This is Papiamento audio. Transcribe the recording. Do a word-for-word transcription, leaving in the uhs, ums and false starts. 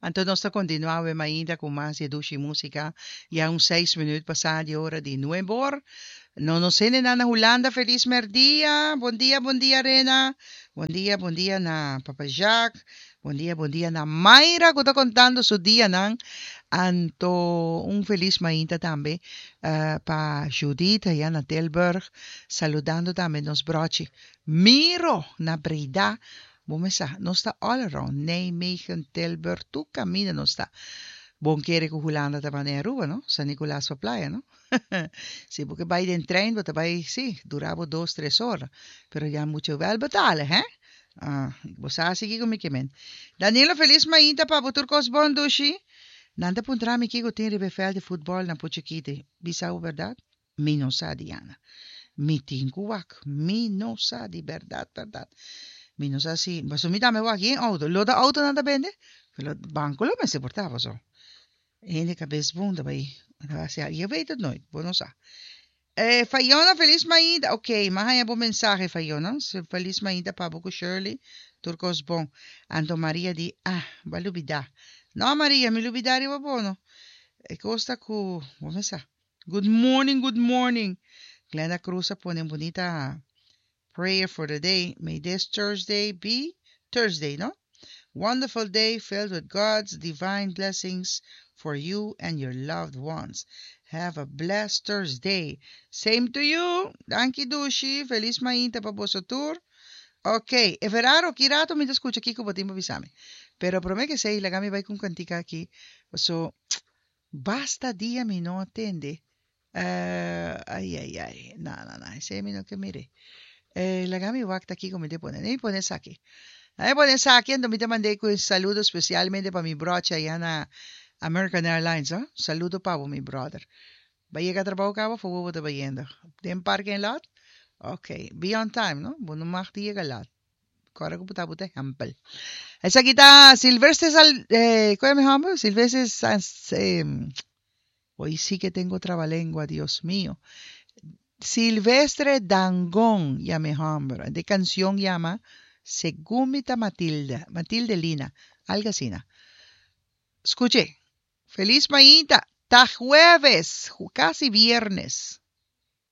Anto nos ta kontinuá ainda ku mas dushi músika. Ya un seis minüt pasá di ora di nuebe or. No nos na Hulanda, felis mèrdia. Bon dia, bon dia, Rena. Bon dia, bon dia na Papa Jacques. Bon dia, bon dia na Mayra, ku ta kontando su dia nan. Anto un felis mainta tambe uh, pa Judith, aya na Tilburg, saludando tambe nos brochi. Miro na Breda. Bon, mesa, nos ta all around. Nijmegen, Tilburg, tur kaminda nos ta. Bon kere ku Hulanda ta na Aruba, no? San Nicolas pa Playa, no? Si, pasobra bai den trein, bo bai, si, dura bo dos, tres ora. Pero ya mucho wel betalen, hè? Ah, bo sa sigui ku mi ke men. Danilo, felis mainta pa bo tur kos bon dushi. Nan ta puntra mi kiko tin riba veld di futbòl na Puchikite. Bisa bo berdat? Mi no sa, Diana. Mi tin ku wak. Mi no sa di berdat, berdat. Mi no sa si, mas mi tambe wak den outo. Lo da outo nan ta bende? Lo banko lo mester por ta so. Hende kabes bunda bai. Je weet het nooit. Bo no sa. Eh, Fayona, felis mainta. Ok, m'a haña bon mensahe, Fayona. Felis mainta pa bo ku Shirley. Tur kos bon. Anto Maria di, ah, b'a lubidá. No, Maria, mi lubidá riba bo no. E kos ta ku, ban kuminsá. Good morning, good morning. Glenda Cruz pone bunita prayer for the day. May this Thursday be Thursday, no? Wonderful day filled with God's divine blessings for you and your loved ones. Have a blessed Thursday. Same to you. Danki dushi. Felis mainta pa boso tur. Ok, Everaro, ki rato mi skucha aki ku bo tin pa bisa mi. Pero promé ku esei, laga mi bai ku kantika aki. So, basta dia mi no atendé. Uh, ai, ai, ai. No, no, no. Esei mi no ke mira. Eh, laga mi wak aki ku mi ta pone. Mi pone esaki. Ai pone esaki, anto mi ta manda ku saludo spesialmente pa mi brochi aya na American Airlines, oh? Saludo pa mi brother. B'a yega trabou kaba, for bo ta bayendo? Den parking lot? Ok, be on time, no? Bo no mag di yega laat. Awor ku bo ta bo ehèmpel. Esaki ta Silvestre Sal, eh, ¿cómo me llama? Silvestre San, eh, hoy sí que tengo trabalengua, Dios mío. Silvestre Dangond, yama e hòmber. E kanshon yama Segun Mi Ta Matilde, Matilde Lina, algu asina. Skucha. Felis mainta. Ta jueves, kasi viernes.